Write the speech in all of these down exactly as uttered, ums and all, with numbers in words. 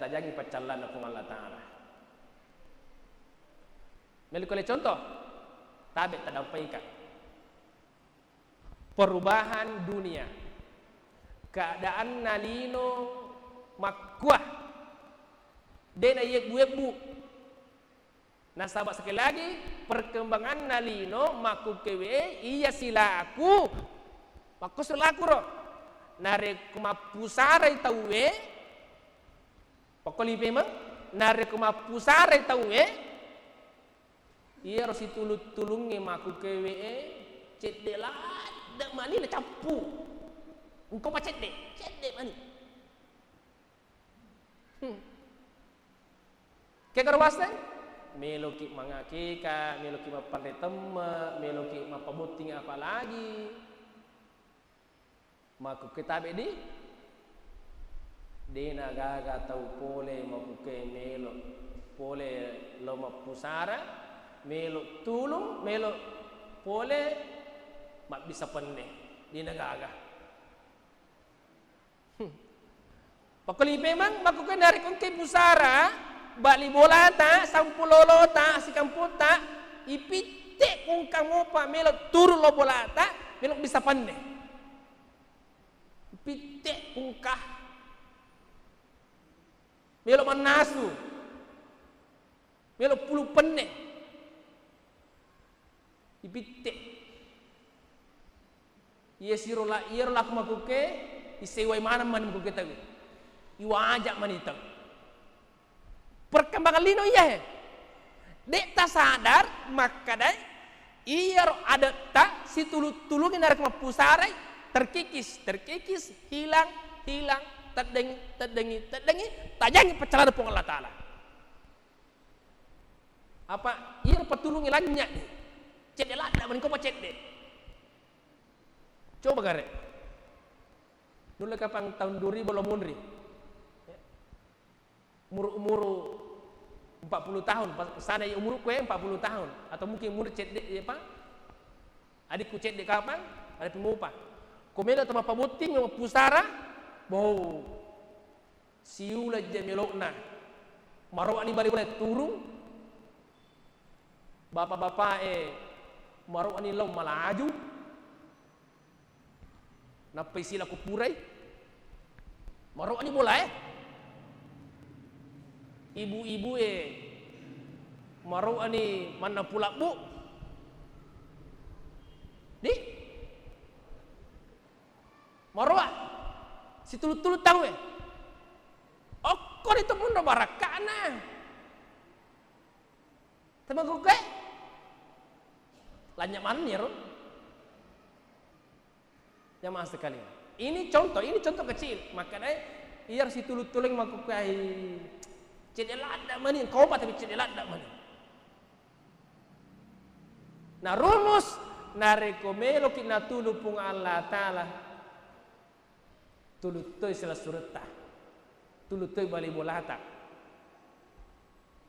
tajangi paccallanna Puang Allah Ta'ala. Melli kulle contoh, tabe tadampai ka. Perubahan dunia. Keadaanna lino makkua. De na yebbu-yebbu. Nasaba sekali lagi, perkembanganna lino makkukkewe iya silaku. Makkusu lakuro. Narekko mappusarai tauwe, Pokkoli pemeng, narekko mappusarai tauwe, iyaro situlung-tulungnge makkukkewe e, cedde ladde mani nacappu. Engka pa cedde, cedde mani. Hmm. Kegaro waseng, meloki mangakeka, meloki mappanre temme, meloki mappabotting apa lagi. Makkukke tabe di, de na gaga tau pole makkukke melo pole lo mappusara, melo tulung, melo pole mabbissa penne, de na gaga. Hmm. Pakkoli memang makkukke narekko engkai pusara, bali bolata, sampulolota, sikamputta, ipitte kungka mopa melo turu lo bolata, melo bisa penne. Pitte kungka. Melo mannasu. Melo pulu penne. Ipitte. Iya siro la-, iyaro laku makkukke, isewai maneng mani makkukke tau. Iwaja mani tau. Perkembangan lino iya he. De tasadar makkadai iyaro adetta situlu-tulungi narekko mappusarai, terkikis, terkikis, hilang, hilang, teddengi, teddengi, teddengi, tajangi paccalana Puang Allah Ta'ala. Apa iyaro patulungnge lanynya ni. Cedde ladda mani ko pa cedde. Coba gare. Nulle kapang tahun dua ribu lo munri. Umuru-umuru empat puluh tahun, pas sana umurku ya empat puluh tahun atau mungkin umur cedde ya, Pak. Adikku cedde kapang, ada pemupa. Komelo tama pabotting pusara, boh. Siuleng je melokna. Maroani bali-bali turung. Bapak-bapak e maroani lao malaju. Nappai sila kupurai. Maroani bola e. Ibu-ibu e maroani manna pulabbu. Di Maroa situlu-tulu tau e. Okko ritu munro barakka'na. Temagukku e. Lanya manni ro. Jamaah sekalian. Ini contoh, ini contoh kecil. Makanya iya situlu-tulung makkukuai cedde ladda mani, kopa tapi cedde ladda mani. Nah, rumus, narekko meloki natulu Puang Allah Ta'ala, tulu toi silessuretta, tulu toi bali bolata.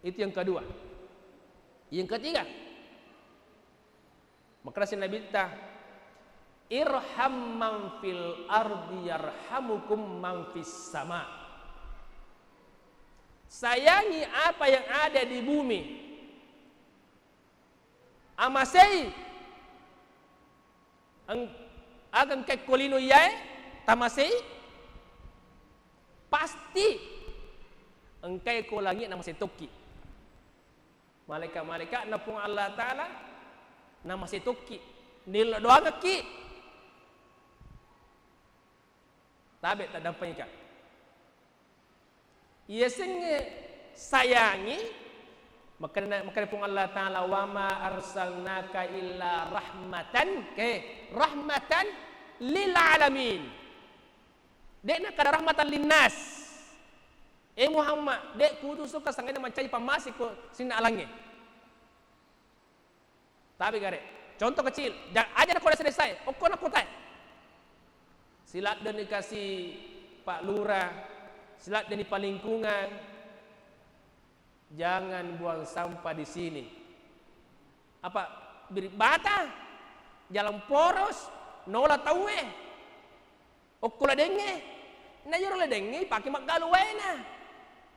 Itu yang kedua. Yang ketiga, makkeda Nabitta, "Irham man fil ardi yarhamukum man fis sama." Sayangi apa yang ada di bumi. Amasei. Eng-, aga engkae ko lino iyae tamasei, pasti engkae ko langi namasei tokki. Malaika-malaika na Puang Allah Ta'ala namasei tokki. Nillo doangekki. Tabe taddampengika. Iyasengnge sayangi, makkeda, makkeda Puang Allah Ta'ala, "Wa ma arsalnaka illa rahmatan," ke, "rahmatan lil alamin." De'na kada rahmatan linnas. Eh Muhammad, de kuutusuka sangadinna mancaji pammase ko sininna alangnge. Tapi gare, contoh kecil, ja-, aja nako desa-desae, okko na kotae. Siladdeni kasi Pak Lurah, siladdeni Pak Lingkungan, jangan buang sampah di sini. Apa, biring bata, jalan poros, nola tauwe. Okko ladengnge, na iyaro ladengnge ipake maggalu waena.